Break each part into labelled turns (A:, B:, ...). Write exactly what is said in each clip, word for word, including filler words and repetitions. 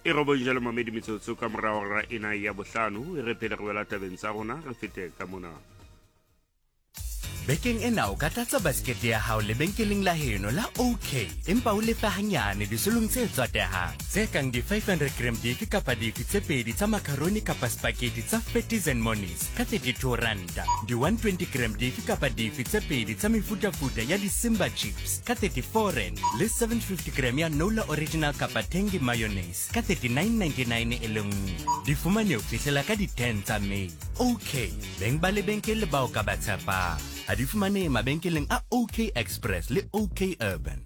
A: E robong jalo mamedi metsotso ka mora hora ena ya bohlano, e re pele re wela tabeng tsa rona, re fete ka mona.
B: Bekeng ena o ka tlatsa baskete ya hao lebenkeleng la heno la OK, empa o lefe hanyane disolong tse tswatehang tse kang di five hundred gram dife kapa dife tse pedi tsa macaroni kapa spaghetti tsa Fatties and Monies ka thirty-two ranta, di one twenty gram dife kapa dife tse pedi tsa mefutafuta ya di-Simba chips ka thirty-four rand, le seven fifty gram ya Nola Original kapa Tangy mayonnaise ka thirty-nine ninety-nine e le nngwe. Di fumane ho fihlela ka di ten tsa May. OK, beng ba lebenkele bao ka ba tshepang. Ha di fumanehe mabenkeleng a OK Express le OK Urban.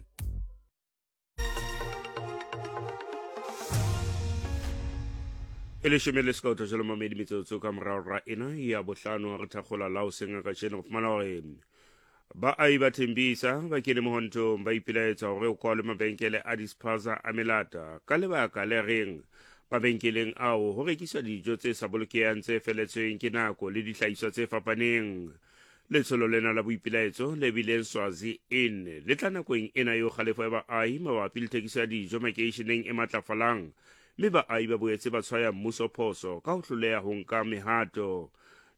A: E leshome le sekotho jalo mamedi metsotso ka morao ra ena ya bohlano, re thakgola la hoseng ka kajeno go fumana hore baahi ba Thembisa ba kene mohontong ba ipelaetsa hore ho kwalwe mabenkele a dispaza a melata ka lebaka le reng mabenkeleng ao ho rekiswa dijo tse sa bolokehang tse feletsweng ke nako le dihlahiswa tse fapaneng. Letsholo lena la boipelaetso le bileng Swazi Inn le tla nakong ena eo kgalefo ya baahi mabapi le thekiso ya dijo makeisheneng e matlafalang, mme baahi ba boetse ba tshwaya mmuso phoso ka ho hloleha ho nka mehato.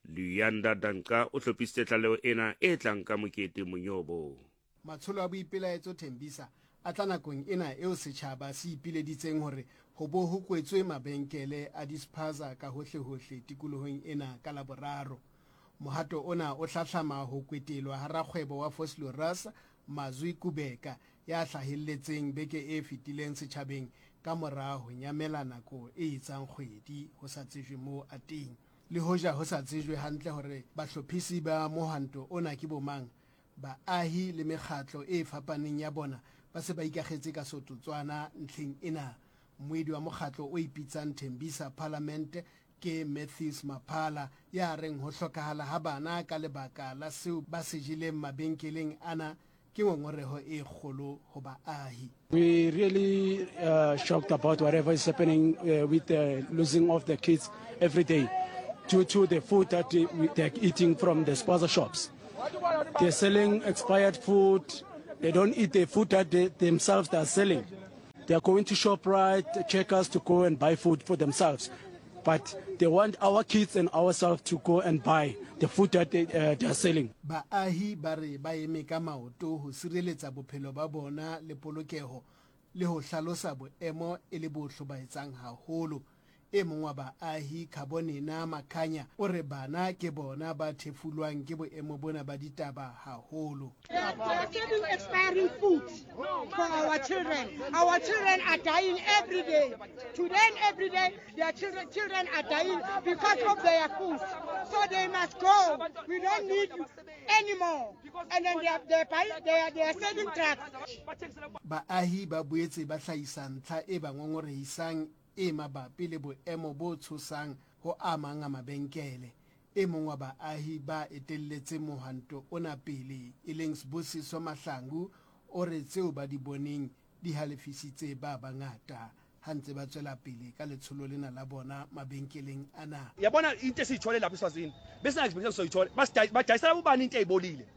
A: Luyanda Danka o hlophisitse tlaleho ena e tlang ka Mokete Monyobo.
C: Matsholo a boipelaetso Thembisa a tla nakong ena eo setjhaba se ipileditseng hore ho bo ho kwetswe mabenkele a dispaza ka hohlehohle tikolohong ena ka Laboraro. Mohato ona o hlahlama ho kwetelwa ha rakgwebo wa Vosloorus Mazwi Kubeka ya hlahelletseng beke e fetileng setjhabeng ka mora ho nyamela nako e etsang kgwedi ho sa tsejwe moo a teng. Le hoja ho sa tsejwe hantle hore bahlophisi ba mohwanto ona ke bomang, baahi le mekgatlo e fapaneng ya bona ba se ba ikakgetse ka sototswana ntlheng ena. Moedi wa mokgatlo o ipitsang Thembisa Parliament ke Matthews Maphala ya reng ho hlokahala ha bana ka lebaka la seo ba se jeleng mabenkeleng ana ke ngongoreho e kgolo ho baahi.
D: We really uh, shocked about whatever is happening uh, with the losing of the kids every day due to the food that they, they're eating from the spaza shops. They're selling expired food. They don't eat the food that they themselves they are selling. They are going to ShopRite, Checkers to go and buy food for themselves. But they want our kids and ourselves to go and buy the food that they, uh, they are selling.
C: Baahi ba re ba eme ka maoto ho sireletsa bophelo ba bona le polokeho le ho hlalosa boemo e le bo hlobaetsang haholo. E mong wa baahi Khabonena Makhanya o re bana ke bona ba thefulwang ke boemo bona ba ditaba haholo.
E: They are selling expiring food for our children. Our children are dying every day. Today and every day, their children, children are dying because of their food. So they must go. We don't need you anymore. And then they are, they are, buying, they are, they are selling drugs.
C: Baahi ba boetse ba hlahisa ntlha e ba ngongorehisang e mabapi le boemo bo tshosang ho a mang a mabenkele. E mong wa baahi ba etelletse mohwanto ona pele e leng Sibusiso Mahlangu o re tseo ba di boneng di halefisitse ba bangata ha ntse ba tswela pele ka letsholo lena la bona mabenkeleng ana.
F: Yabona into esiyithole lapha eSwazini bese expectation soyithole badayisela ubani into eyibolile,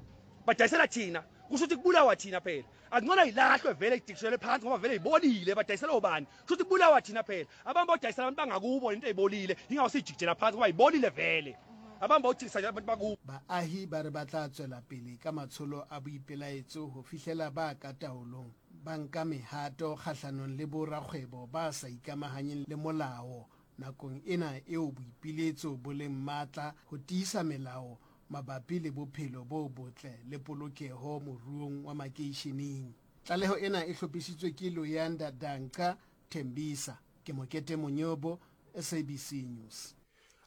F: badayisela thina, kusho ukuthi kubulawa thina phela. Akungcono ilahlwe vele idikishelwe phansi ngoba vele ibolile, badayisela ubani, kusho ukuthi kubulawa thina phela. Abantu bodayisela abantu bangakubo into eyibolile, ingakho sijikijela phansi ngoba ibolile vele. Abantu bawuthikisa abantu bakubo.
C: Baahi ba re ba tla tswela pele ka matsholo a boipelaetso ho fihlela ba ka taolong ba nka mehato kgahlanong le borakgwebo ba sa ikamahanyeng le molao nakong ena eo boipiletso bo leng matla ho tiisa melao mabapi le bophelo bo botle le polokeho moruong wa makeisheneng. Tlaleho ena e hlophisitswe ke Luyanda Danka Thembisa. Ke Mokete Monyobo, S A B C News.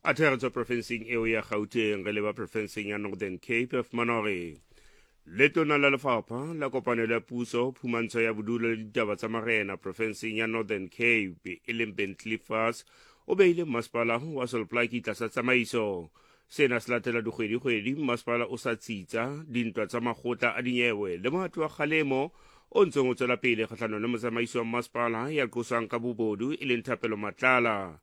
A: A thero tswa profenseng eo ya Gauteng re leba profenseng ya Northern Cape, fumana hore letona la lefapha la kopanelo ya puso, phumantsho ya bodulo le ditaba tsa marena profenseng ya Northern Cape e leng Bentley Fas o beile masepala wa Sol Plaatje tlasa tsamaiso. Sena se latela dikgwedi-kgwedi masepala o sa tsitsa dintwa tsa makgotla a dinyewe le mohato wa kgalemo o ntseng o tswela pele kgahlanong le motsamaisi wa masepala ya qoswang ka bobodu e leng Thapelo Matlala.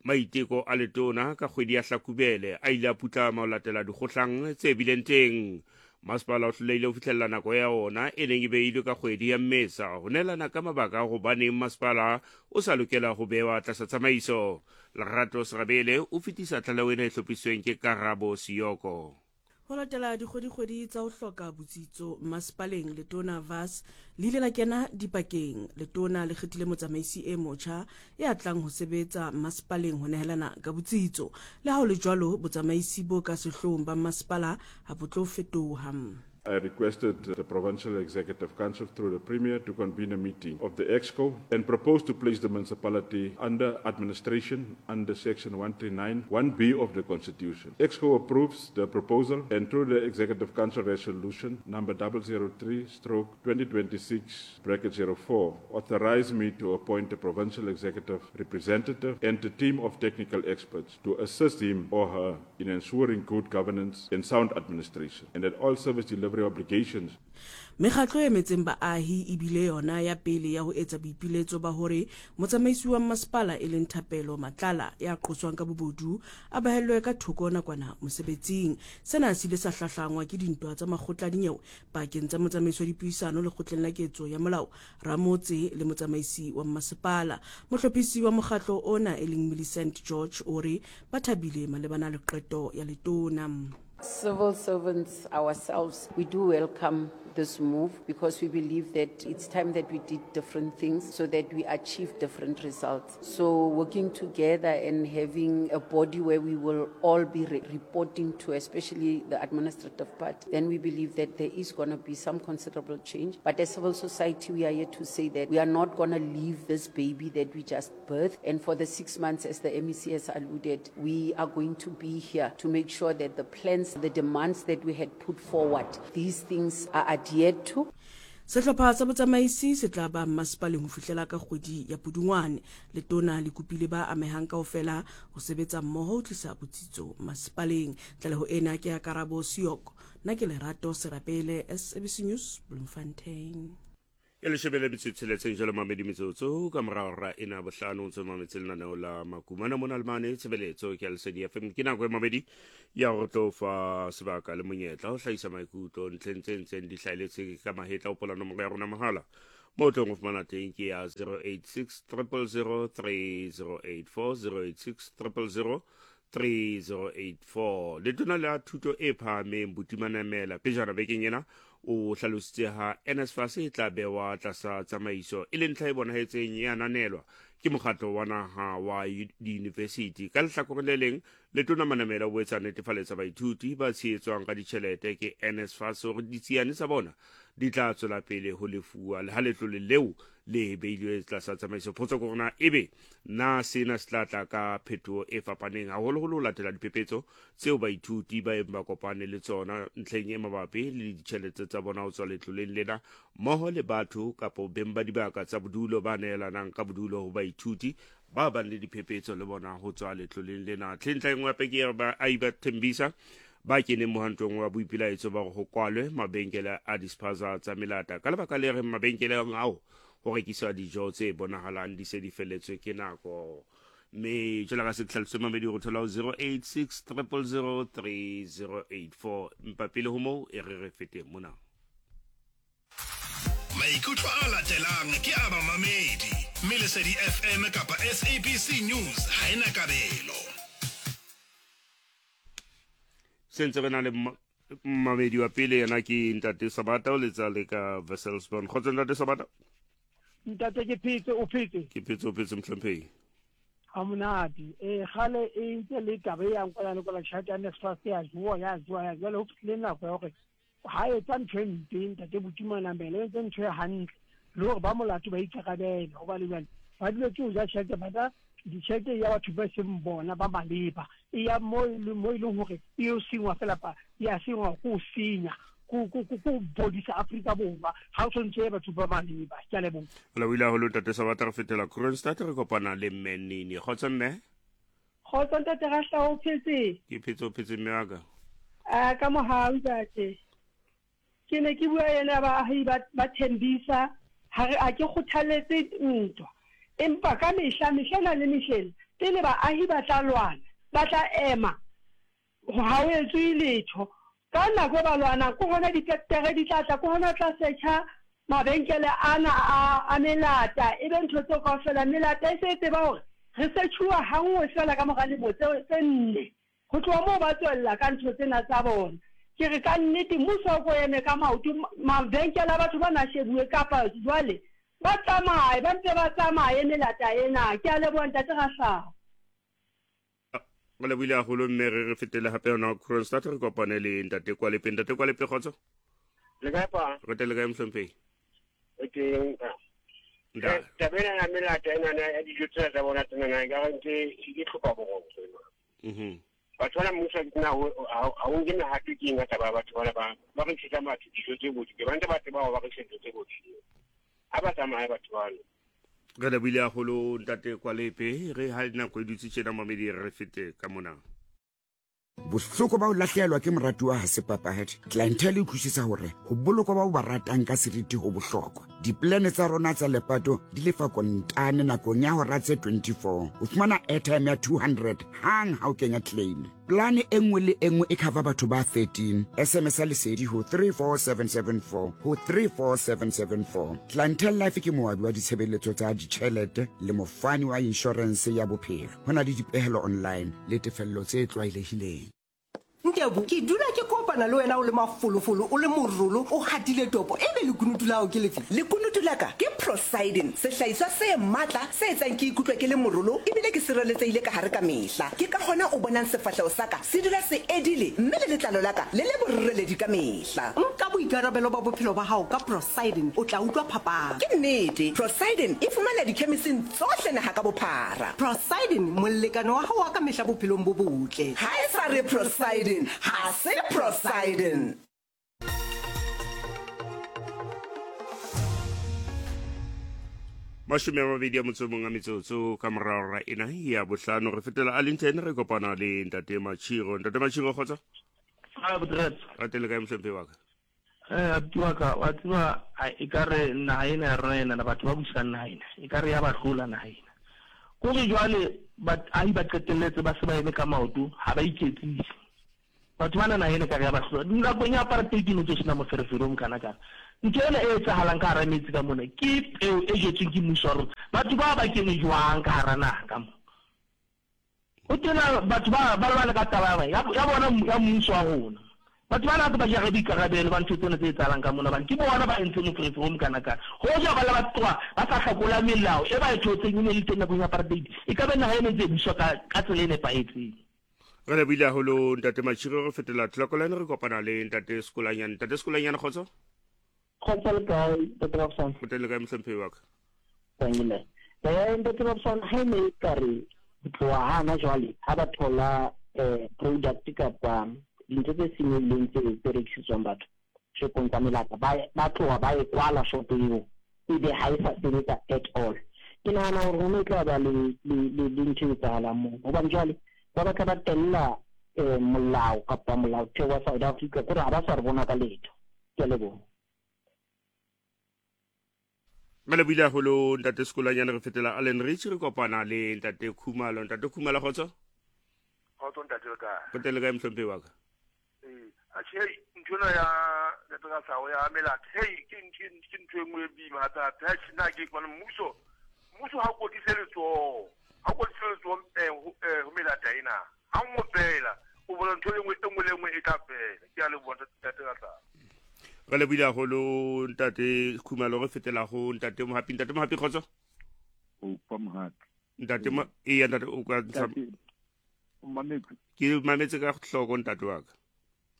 A: Maiteko a letona ka kgwedi ya Hlakubele a ile a putlama ho latela dikgohlang tse bileng teng. Masepala o hlolehile ho fihlella nako ya ona e neng e beilwe ka kgwedi ya Mmesa ho neelana ka mabaka a hobaneng masepala o sa lokela ho bewa tlasa tsamaiso. Lerato Serabele o fetisa tlaleho ena e hlophisitsweng ke Karabo Siyoko.
G: Ho latela dikgwedikgwedi tsa ho hloka botsitso masepaleng, Letona Vaz le ile la kena dipakeng. Letona le kgethile motsamaisi e motjha ya tlang ho sebetsa masepaleng ho nehelana ka botsitso. Le ha ho le jwalo, botsamaisi bo ka sehloohong ba masepala ha bo tlo fetoha.
H: I requested the Provincial Executive Council through the Premier to convene a meeting of the EXCO and propose to place the municipality under administration under Section one three nine one B of the Constitution. EXCO approves the proposal and through the Executive Council Resolution number double zero three stroke twenty twenty-six bracket zero four authorize me to appoint a provincial executive representative and a team of technical experts to assist him or her in ensuring good governance and sound administration, and that all service delivery obligations.
G: Mekgatlo e emetseng baahi ebile yona ya pele ya ho etsa boipiletso ba hore motsamaisi wa masepala e leng Thapelo Matlala ya qoswang ka bobodu a behellwe ka thoko nakwana mosebetsing. Sena se ile sa hlahlangwa ke dintwa tsa makgotla a dinyewe pakeng tsa motsamaisi wa dipuisano lekgotleng la ketso ya molao Ramotse le motsamaisi wa masepala. Mohlophisi wa mokgatlo ona e leng Millicent George o re ba thabile malebana le qeto ya letona.
I: Civil servants ourselves, we do welcome this move because we believe that it's time that we did different things so that we achieve different results. So working together and having a body where we will all be re- reporting to, especially the administrative part, then we believe that there is gonna be some considerable change. But as civil society, we are here to say that we are not gonna leave this baby that we just birthed. And for the six months, as the M E C has alluded, we are going to be here to make sure that the plans, the demands that we had put forward, these things are adhered to.
G: Sehlopha sa botsamaisi se tla ba masepaleng ho fihlela ka kgwedi ya Pudungwane. Letona le kopile ba amehang kaofela ho sebetsa mmoho ho tlisa botsitso masepaleng. Tlaleho ena ke ya Karabo Siyoko. Nna ke Lerato Serapele, S A B C News, Bloemfontein.
A: E leshome le metso e tsheletseng jalo mamedi metsotso ka morao ra ena bohlano ntse mametse lenaneo la Makumana mona le mane tshebeletso ke ya Lesedi F M. Ke nako e mamedi ya go tlo fa sebaka le monyetla ho hlahisa maikutlo ntlheng tse ntseng di hlaheletse ka mahetla. O pola nomoro ya rona mohala mo tlong ho fumana teng ke ya zero eight six triple zero three zero eight four, zero eight six triple zero three zero eight four. Letona la thuto e phahameng Buti Manamela pejana bekeng ena o hlalositse ha N S F A S e tla bewa tlasa tsamaiso e le ntlha e bonahetseng e ananelwa ke mokgatlo wa naha wa diyunivesithi. Ka lehlakoreng le leng, letona Manamela o boetse a netefaletsa baithuti ba tshehetswang ka ditjhelete ke N S F A S hore ditsiane tsa bona di tla tswela pele ho lefuwa le ha letlole leo le beilwe tlasa tsamaiso. Potso ke hore na ebe na sena se tla tla ka phetoho e fapaneng, haholoholo ho latela diphephetso tseo baithuti ba eng ba kopane le tsona ntlheng e mabapi le ditjhelete tsa bona ho tswa letloleng lena, mmoho le batho kapo beng ba dibaka tsa bodulo ba nehelanang ka bodulo ho baithuti ba bang le diphephetso le bona ho tswa letloleng lena. Tlhentlha e nngwe hape ke ya baahi ba Thembisa ba keneng mohantong wa boipelaetso ba ho kwalwe mabenkele a dispaza tsa melata ka lebaka le reng mabenkeleng ao ho rekiswa dijo tse bonahalang di se di felletswe ke nako. Mme jwalo ka se tlhaloso mamedi go thola ho zero eight six triple zero three zero eight four. Empa pele ho moo e re re feteng mona.
J: Maikutlo a latelang ke a bamamedi mme Lesedi F M kapa S A B C News ha ena kabelo.
A: Se ntse re na le mamedi wa pele, yena ke ntate Sabata, o letsa le ka Wesselsbron. Kgotsa ntate Sabata.
K: Ntate, ke phetse, o phetse?
A: Ke phetse, o phetse mohlomphei?
K: Ha monate. Eh kgale e ntse le taba e yang kwala le kwala, tjhelete ya N S F A S ya jowa, ya jowa ya jwale ho fihlile nako ya hore ha etsa ntho e mpe ntate Buti Manamela o entse ntho e hantle le hore ba molato ba ikarabele, hobane jwale ba dule ke ho ja tjhelete ba tla ditjhelete ya batho ba seng bona ba maleba e ya mo mo e leng hore e yo sengwa fela pa ya sengwa ko senya ko ko ko bodisa Afrika Borwa ha o tshwanetse batho ba maleba. Ke a leboha.
A: Ola o ile haholo ntate Sabata. Re fetela Kroonstad, re kopana le mme Nini. Kgotsa mme.
E: Kgotsa ntate Rahla, o phetse?
A: Ke phetse, o phetse mme wa ka?
E: A ka mohau ntate. Ke ne ke bua ena baahi ba ba Thembisa ha re a ke kgothaletse ntwa, empa ka mehla mehlena le mehlena pele baahi ba tla lwana, ba tla ema ha o etswe letho.
L: Ka nako e ba lwanang ke hona difektere di tla tla, ke hona tla setjha mabenkele ana a a melata, e be ntho tseo kaofela. Melata e se e tseba hore re setjhuwa hanngwe fela ka mora lemo tse tse nne. Ho tloha moo ba tswella ka ntho tsena tsa bona. Ke re ka nnete mmuso o ko eme ka maoto, mabenkele a batho bana a shebuwe kapa jwale ba tsamaye, ba mpe ba tsamaye melata ena. Ke a leboha ntate Rahlao.
A: Re lebohile haholo mme re re fetele hape hona Kroonstad re kopane le ntate Kwalepe. Ntate Kwalepe, kgotso.
M: Le kae pa?
A: Re teng le kae mohlomphehi?
M: O teng.
A: Nda.
M: Taba ena ya melata enana ya dijo tsena tsa bona tsenana e ka re ntse e tlhoka boroko.
A: Mhm.
M: Batho bana mmuso na ha o nke mehato ke eng ka taba ya batho bana ba ba rekisetsa batho dijo tse bodileng. Ba ntse ba tseba hore ba rekisa dijo tse bodileng. Ha ba tsamaye batho bana.
A: Re lebohile haholo ntate Kwalepe. Re ha nako e dutse tjena mamedi re fete ka mona.
N: Bohloko ba ho lahlehelwa ke moratuwa ha se papadi. Clientele e utlwisisa hore ho bolokwa bao ba ratang ka seriti ho bohlokwa. Diplane tsa rona tsa lepato di lefa kontane nakong ya hora tse twenty-four. O fumana airtime ya two hundred hang ha o kenya claim. Plane e nngwe le e nngwe e cover batho ba thirteen. S M S a lesedi ho three four seven seven four ho three four seven seven four. Clientele Life ke moabi wa ditshebeletso tsa ditjhelete le mofani wa insurance ya bophelo. Ho na le dipehelo online le tefello tse tlwaelehileng.
O: Ntebu, ke dula ke kopana le wena o le mafolofolo, o le morolo, o hatile topo, ebe lekunutu la hao ke lefe?
P: Lekunutu la ka ke Prosidin, sehlahiswa se matla se etsang ke ikutlwe ke le morolo ebile ke sireletsehile ka hare ka mehla. Ke ka hona o bonang sefahleho sa ka se dula se edile mme le letlalo la ka le le boreledi ka mehla.
O: Nka boikarabelo ba bophelo ba hao ka Prosidin, o tla utlwa phapang.
P: Ke nnete, Prosidin e fumanwa dikhemising tsohle naha ka bophara.
O: Prosidin, molekane wa hao wa ka mehla bophelong bo botle.
P: Ha e sa re Prosidin, ha se Prosidin.
A: Mashome a mabedi a motso o mong a metsotso ka morao ra ena ya bohlano re fetela Arlington re kopana le ntate Machiro. Ntate Machiro, kgotso.
Q: Ha botretse.
A: Re teng le kae mohlomphehi wa ka?
Q: Eh abuti wa ka, wa tseba e ka re naha ena ya rona ena, batho ba busang naha ena, e ka re ya ba hlola naha ena. Kore jwale baahi ba qetelletse ba se ba eme ka maoto, ha ba iketsise. Batho bana naha ena ka re ya ba hlola. Nakong ya apartheid ne tso sena moferefere o mokana-kana. Ntho ena e etsahalang ka hara metsi ka mona ke peo e jetsweng ke mmuso wa rona. Batho ba ba kene jwang ka hara naha ka mona? Ho tena batho ba ba lwana ka taba ya ya bona ya mmuso wa rona. Batho bana ba jare boikarabelo ba ntho tsena tse etsahalang ka mona, bane ke bona ba entseng moferefere o mokana-kana. Hoja ba le ba tloha ba sa hlakola melao e ba e thotseng e ne le teng nakong ya apartheid, e ka be naha ena e ntse e buswa ka ka tsela e nepahetseng.
A: Re lebohile haholo ntate Machiro. Re fetela Tlokolane re kopana le ntate Sekolanyane. Ntate Sekolanyane, kgotso.
R: Kgotso le kae ntate Robson?
A: O teng le kae mohlomphehi wa ka?
R: Tangile. Eh ntate Robson, ha e ne e ka re ho tloha hana jwale ha ba thola eh product kapa dintho tse senyehileng tse tse rekisetswang batho shopong tsa melata, ba ba tloha ba e kwala shopo eo ebe ha e sa sebetsa at all. Ke nahana hore ho ne tla ba le le le ntho e etsahalang moo, hobane jwale ba batla ba tella eh molao kapa molaotheo wa South Africa kore ha ba sa re bona ka letho. Ke a leboha.
A: Re lebohile haholo ntate Sekolanyane. Re fetela Allen Rich re kopana le ntate Khumalo. Ntate Khumalo, kgotso.
S: Kgotso ntate, le kae?
A: O teng le kae mohlomphehi wa ka?
S: Ee, atjhe hei ntho ena ya ntate Rahlao ya melata, hei ke ke ntho e nngwe e boima hape-hape. Atjhe nna ke fumane mmuso, mmuso ha o kwetlise letsoho, ha o kwetlise letsoho ho melata ena. Ha nngwe fela, o bona ntho e nngwe e nngwe le nngwe e tla fela. Ke a leboha ntate Rahlao.
A: Re lebohile haholo ntate Khumalo. Re fetela ho ntate Mohapi. Ntate Mohapi, kgotso.
T: O pa Mohapi.
A: Ntate Mo, eya ntate o ka ntsha.
T: O mametse.
A: Ke mametse ka hloko ntate wa ka.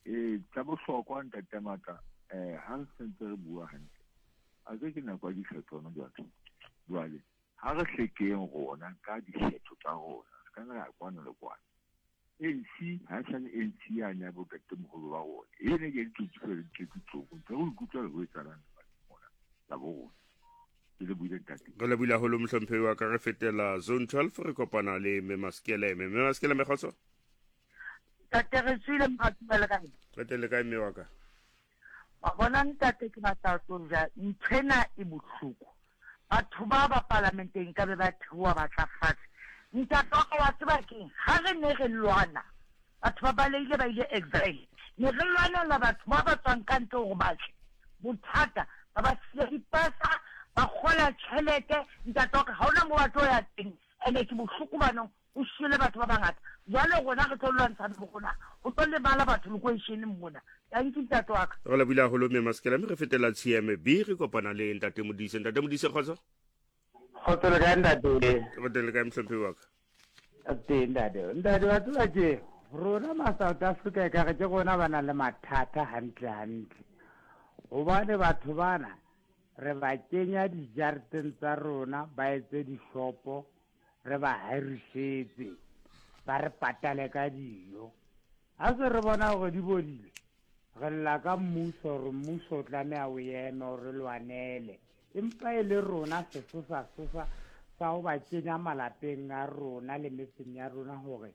T: Eh tsa bohlokwa ntate Matla, eh ha re sentse re bua hantle. A ke ke nako ya dikgetho hona jwale. Jwale ha re hlekeng rona ka dikgetho tsa rona, se ka ra kwana le kwana. A N C ha e sale A N C yane ya botatemoholo ba rona. E ne ke ditsotsi fela di tletse tloko. Ntse re ikutlwa le ho etsahalang lefatsheng mona la bo rona. Ke lebohile ntate.
A: Re lebohile haholo mohlomphehi wa ka. Re fetela zone twelve re kopana le Mme Maskeleme. Mme Maskeleme, kgotso.
U: Ntate re tswile mohatumele kae?
A: Re teng le kae mme wa ka?
U: Wa bona ntate, ke batla ho tlo ja nthwena e bohloko. Batho ba ba palamenteng ka be ba theoha ba tla fatshe. Ntate wa ka wa tseba keng? Ha re ne re lwana Batho ba baleile ba ile exile. Ne re lwanela batho ba ba tswang ka ntle hore ba tle. Bothata ba ba siya dipasa, ba kgola tjhelete, ntate wa ka ha hona moo ba tlo ya teng. Ene ke bohloko banong, o shwele batho ba bangata. Jwale rona re tlo lwantsha le rona. Ho tlo lebala batho lekweisheneng mona. Thank you, ntate wa ka.
A: Re lebohile haholo mme Masekela, mme re fetela T M B, re kopana le ntate Modise. Ntate Modise, kgotso?
B: Kgotso le kae, ntate?
A: Re teng le kae, mohlomphehi wa ka?
B: Teng, ntate. Ntate, wa tseba tje, rona ma South Africa ekare ke rona ba nang le mathata hantle hantle. Hobane batho bana re ba kenya dijareteng tsa rona, ba etse dishopo, re ba hirisetse, ba re patale ka dijo. Ha se re bona hore di bodile, re lla ka mmuso hore mmuso o tlameha o eme o re lwanele. Empa e le rona sesosa sosa sa ho ba kenya malapeng a rona le metseng ya rona hore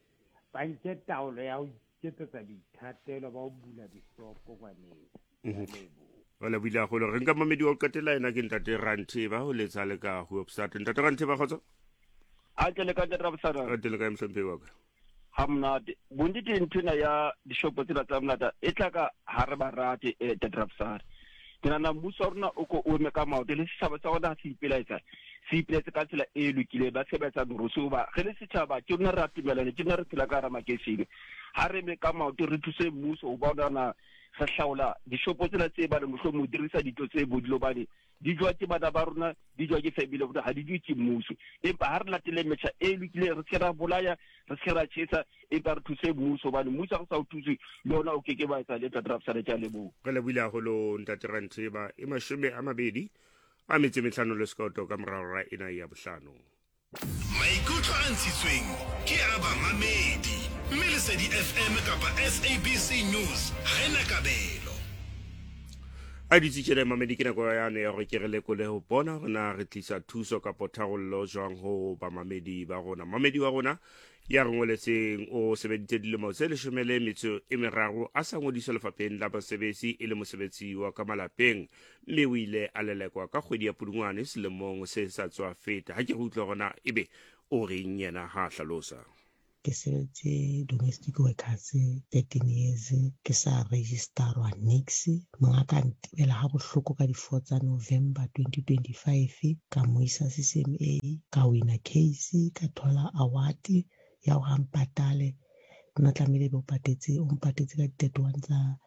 B: ba nke taolo ya ho iketsetsa boithatelo ba ho bula dishopo kwaneng.
A: Re lebohile haholo. Re nka mamedi wa ho qetela, ena ke ntate Rantheba ho letsa le ka Hoopstad. Ntate Rantheba, kgotso?
V: A ke le ka ntate Rabsana.
A: Re teng le kae, mohlomphehi wa ka?
V: Ha monate. Bonnete nthwena ya dishopo tsena tsa monate e tla ka ha re ba rate, eh, ntate Rabsana. Ke nahana mmuso wa rona o ko o eme ka maoto, le setjhaba sa rona ha se ipelaetsa, se ipelaetse ka tsela e lokileng, ba se ba etsa merusu. Hoba re le setjhaba ke rona re a tumelana, ke rona re phela ka hara makeishene. Ha re eme ka maoto re thuse mmuso ho bona na re hlaola dishopo tsena tse bane mohlomong di rekisa dintho tse bodile, hobane di jowa ke bana ba rona, di jowa ke family ya rona, ha di jowe ke mmuso. Empa ha re latele metjha e lokileng, re se ke ra bolaya, re se ke ra tjhesa, empa re thuse mmuso, hobane mmuso ha re sa o thuse le ona o keke wa etsa letho. Ntate Rabsana, ke a leboha.
A: Re lebohile haholo ntate Rantheba. E mashome a mabedi a metso e mehlano le sekoto ka morao ra ena ya bohlano.
J: Maikutlo a ntshitsweng ke a bamamedi, mme Lesedi F M kapa S A B C News ha ena kabelo.
A: A ditse tjena mamedi, ke nako yane ya hore ke re lekole ho bona hore na re tlisa thuso kapo tharollo jwang ho bamamedi ba rona. Mamedi wa rona ya re ngoletseng o sebeditse dilemo tse leshome le metso e meraro a sa ngodiswa lefapheng la basebetsi e le mosebetsi wa ka malapeng, mme o ile a lelekwa ka kgwedi ya Pudungwane selemong se sa tswa feta. Ha ke re utlwe hore na ebe o reng yena ha a hlalosa.
W: Ke sebetse domestic workers thirteen years, ke sa registerwa nix. Monga ka ntebela ha bohloko ka di-four tsa November twenty twenty-five, ka mo isa C C M A, ka wina case, ka thola award ya hore a mpatale. Nna tlamehile be o patetse, o mpatetse ka di-thirty-one tsa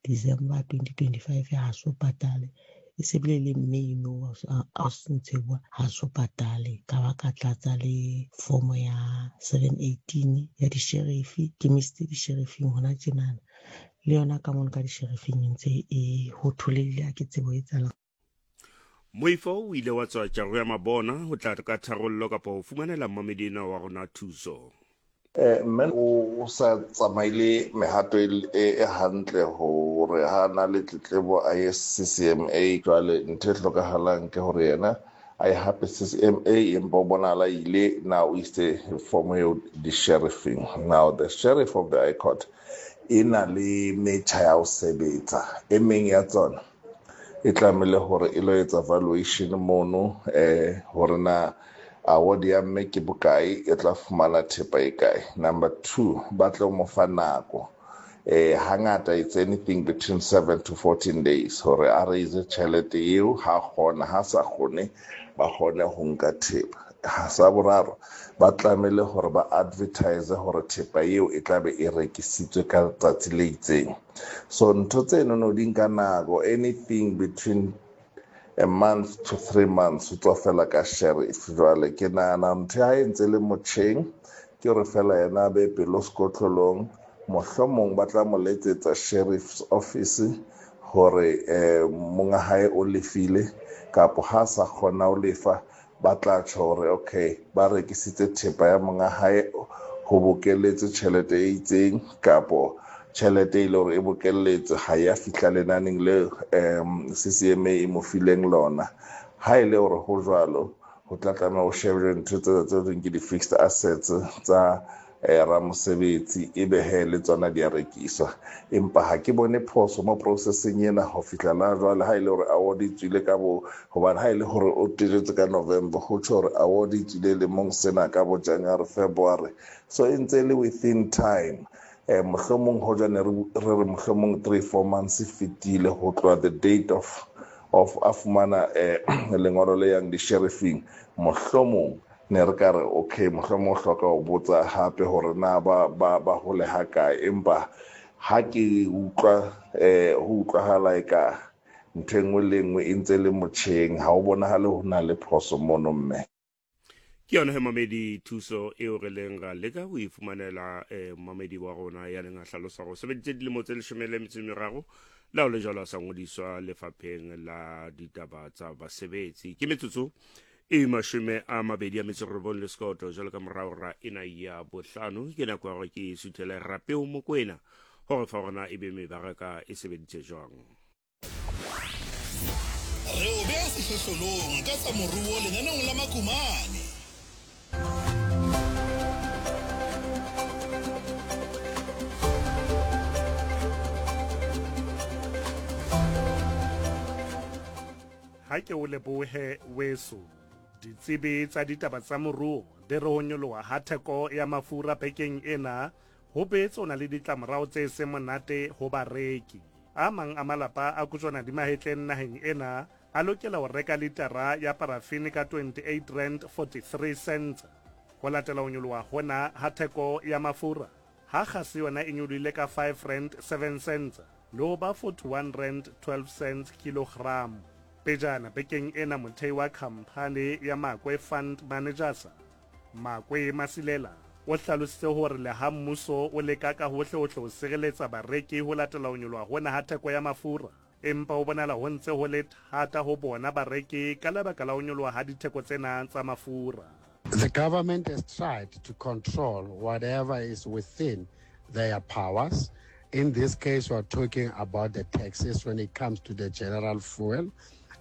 W: December twenty twenty-five, ha so patale. E se bile le May no, a se ntse bua, ha so patale. Ka ba ka tlatsa le form ya seven eighteen ya di-sheriff, ke misitse di-sheriffing hona tjenana. Le yona ka mono ka di-sheriffing e ntse e ho tholehile, ha ke tsebo e etsahalang.
A: Moifo o ile wa tswa tjaro ya mabona ho tla ka tharollo kapa ho fumanela mmamedi ena wa rona thuso.
X: Eh, mme o sa tsamaile mehato e e hantle hore ha na le tletlebo a ye C C M A. Jwale ntho e hlokahalang ke hore yena a ye hape C C M A, empa o bonahala ile na o isitse form eo di-sheriffing. Now the sheriff of the High Court e na le metjha ya ho sebetsa. E meng ya tsona e tlamehile hore e lo etsa valuation mono, eh, hore na award ya mme ke bokae, e tla fumana thepa e kae. Number two, ba tlo mo fa nako. Eh, hangata it's anything between seven to fourteen days hore a raise tjhelete eo, ha kgona, ha sa kgone, ba kgone ho nka thepa. Ha sa boraro, ba tlamehile hore ba advertise hore thepa eo e tlabe e rekisitswe ka letsatsi le itseng. So ntho tseno no di nka nako, anything between a month to three months ho tswa fela ka sheriff. Jwale ke nahana ntho ha e ntse le motjheng ke hore fela yena a be pelo sekotlolong, mohlomong ba tla mo letsetsa sheriff's office hore eh monga hae o lefile, kapo ha sa kgona ho lefa ba tla tjho hore okay ba rekisitse thepa ya monga hae ho bokeletse tjhelete e itseng, kapo tjhelete e le hore e bokelletse ha ya fihla lenaneng le um C C M A e mo fileng lona. Ha e le hore ho jwalo, ho tla tlameha ho shebelwe ntho tse tse thweng ke di-fixed assets tsa eh ramosebetsi, ebe he le tsona di a rekiswa. Empa ha ke bone phoso mo processing ena ho fihla la jwale, ha e le hore award e tswile ka bo, hobane ha e le hore o tejetse ka November, ho tjho hore award e tswile lemong sena ka bo January, February, so e ntse le within time. Eh mohlomong hoja ne re re mohlomong three four months fetile ho tloha the date of of a fumana eh lengolo le yang di-sheriffing, mohlomong ne re ka re okay, mohlomong o hloka ho botsa hape hore na ba ba ba hole ha kae. Empa ha ke utlwa eh ho utlwahala eka ntho e nngwe le nngwe e ntse le motjheng, ha o bonahale ho na le phoso mono mme.
A: Ke yona he mamedi thuso eo re leng ra leka ho e fumanela eh mamedi wa rona ya leng a hlalosa hore o sebeditse dilemo tse leshome le metso e meraro le ha ho le jwalo a sa ngodiswa lefapheng la ditaba tsa basebetsi. Ke metsotso e mashome a mabedi a metso e robong le sekoto jwalo ka morao ra ena ya bohlano. Ke nako ya hore ke suthele Rapeo Mokoena hore fa rona e be mebaraka e sebeditse jwang.
J: Re o beha sehlohlolong ka tsa moruo lenaneong la Makumane.
C: Ha ke o lebohe weso. Ditsebi tsa ditaba tsa moruo di re ho nyoloha ha theko ya mafura bekeng ena ho boetse ho na le ditlamorao tse seng monate ho bareki. A mang a malapa a kojwana di mahetleng naheng ena a lokela ho reka litara ya parafini ka twenty-eight rand forty-three cents. Ho latela ho nyoloha hona ha theko ya mafura, ha kgase yona e nyolohile ka five rand seven cents le ho ba forty-one rand twelve cents kilogram. Pejana bekeng ena mothei wa khamphani ya Makwe Fund Managers, Makwe Masilela, o hlalositse hore le ha mmuso o leka ka hohle ho sireletsa bareki ho latela ho nyoloha hona ha theko ya mafura, empa ho bonahala ho ntse ho le thata ho bona bareki ka lebaka la ho nyoloha ha ditheko tsena tsa mafura.
D: The government has tried to control whatever is within their powers. In this case, we are talking about the taxes when it comes to the general fuel,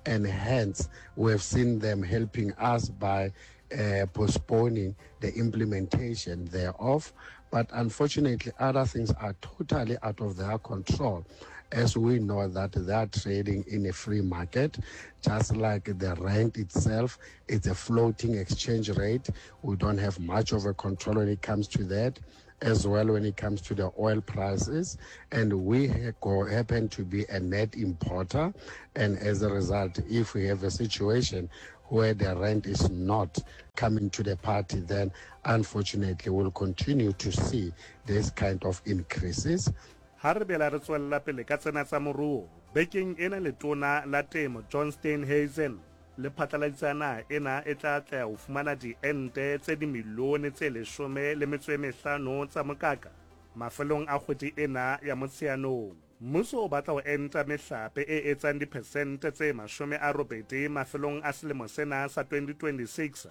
D: and hence we have seen them helping us by uh, postponing the implementation thereof. But unfortunately, other things are totally out of their control, as we know that they are trading in a free market, just like the rent itself, it's a floating exchange rate. We don't have much of a control when it comes to that, as well when it comes to the oil prices. And we happen to be a net importer, and as a result, if we have a situation where the rent is not coming to the party, then unfortunately we'll continue to see this kind of increases.
C: Ha re bela re tswella pele ka tsena tsa moruo, bekeng ena letona la temo John Steenhuisen le phatlaladitse naha ena e tla atleha ho fumana diente tse dimilione tse leshome le metso e mehlano tsa mokaka mafelong a kgwedi ena ya Motsheanong. Mmuso o batla ho enta mehlape e etsang diphesente tse mashome a robedi mafelong a selemo sena sa twenty twenty-six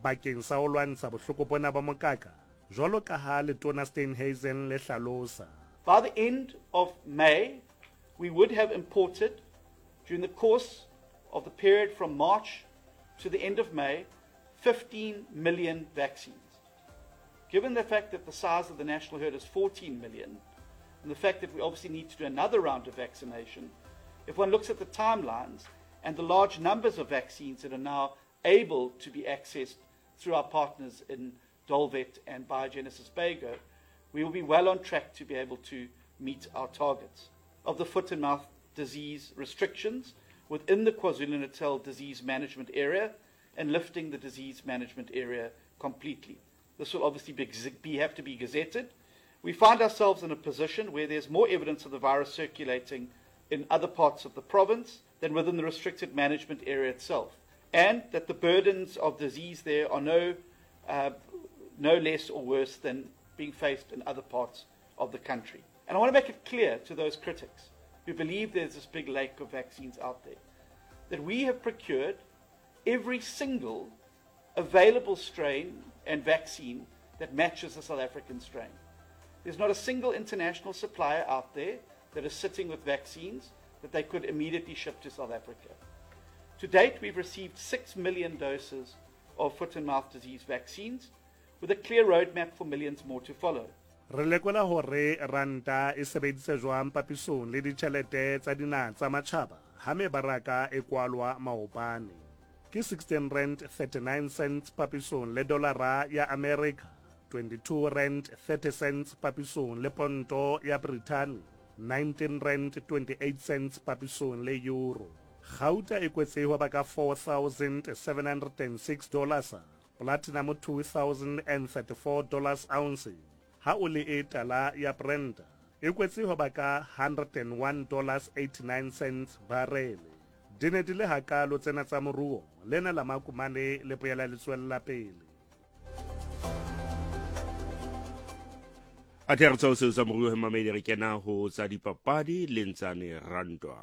C: bakeng sa ho lwantsha bohloko bona ba mokaka, jwalo ka ha letona Steenhuisen le hlalosa.
F: By the end of May, we would have imported, during the course of the period from March to the end of May, fifteen million vaccines. Given the fact that the size of the national herd is fourteen million, and the fact that we obviously need to do another round of vaccination, if one looks at the timelines and the large numbers of vaccines that are now able to be accessed through our partners in Dolvet and Biogenesis Bago, we will be well on track to be able to meet our targets of the foot and mouth disease restrictions within the KwaZulu-Natal disease management area and lifting the disease management area completely. This will obviously be, be, have to be gazetted. We find ourselves in a position where there's more evidence of the virus circulating in other parts of the province than within the restricted management area itself, and that the burdens of disease there are no, uh, no less or worse than being faced in other parts of the country. And I want to make it clear to those critics who believe there's this big lake of vaccines out there, that we have procured every single available strain and vaccine that matches the South African strain. There's not a single international supplier out there that is sitting with vaccines that they could immediately ship to South Africa. To date, we've received six million doses of foot and mouth disease vaccines, with a clear roadmap for millions more to follow.
C: Re lekola hore ranta e sebeditse jwang papisong le ditjhelete tsa dinaha tsa matjhaba ha mebaraka e kwalwa maobane. Ke sixteen rand thirty-nine cents papisong le dolara ya America, twenty-two rand thirty cents papisong le ponto ya Britain, nineteen rand twenty-eight cents papisong le euro. Gauta e kwetse ho ba ka four thousand seven hundred and six dollars, platinum two thousand and thirty-four dollars ounce. Ha o le e tala ya Brent e kwetse ho ba ka one hundred and one dollars eighty-nine cents barele. Di ne di le hakalo tsena tsa moruo, lena la makumane le boela le tswella pele.
A: A thero tsa seo sa moruo he mamedi, re kena ho tsa dipapadi le Ntsane Rantwa.